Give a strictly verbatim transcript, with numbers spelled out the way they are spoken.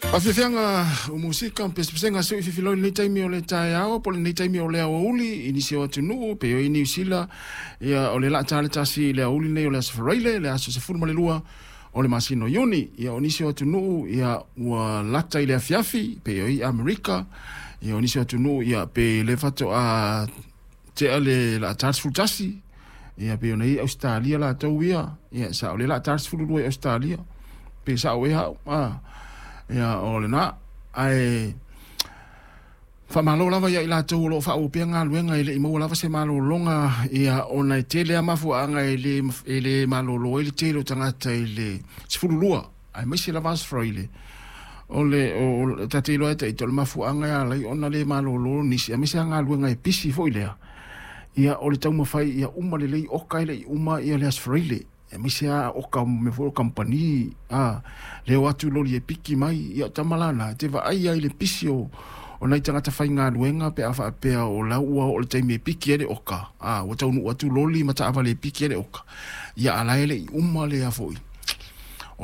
Faafiafiaga o musika ma pesepesega seu i fifiloi lenei taimi o le taeao po o lenei taimi o le aoauli i nisi o atunuu pe o i Niu Sila. Ia o le laa le tasi i le aoauli nei o le aso Faraile le aso sefulu ma le lua o le masina o Iuni. Ia o nisi o atunuu ia ua lata i le afiafi pe o i Amerika. Ia o nisi o atunuu ia pe le faatoa tea le laa sefulu tasi. Ia pe ona i Australia latou ia. Ia sa o le laa sefulu lua i Australia. Pe sa o e hau. Ah. Ia o lena ae faamalo lava ia i latou o loo faaopea galuega e le'i maua lava se malologa ia ona e tele a mafuaaga e lē e lē malolo ai le tele o tagata i le sefululua aemaise lava Aso Faraile o le o tate iloa e taita o le mafuaaga e alai ona lē malolo nisi aemaise a galuega e pisi foi lea ia o le taumafai ia uma lelei oka e le'i uma ia le Aso Faraile aemaise a oka mea foi o kamupani a le o atu loli e piki mai ia tama lana te vaai ai le pisi o o nai tagata faigaluega pe a faapea o lau ua oo le taimi e piki ai le oka a ua taunuu atu loli ma taavale e piki ai le oka ia a la e le'i uma lea foi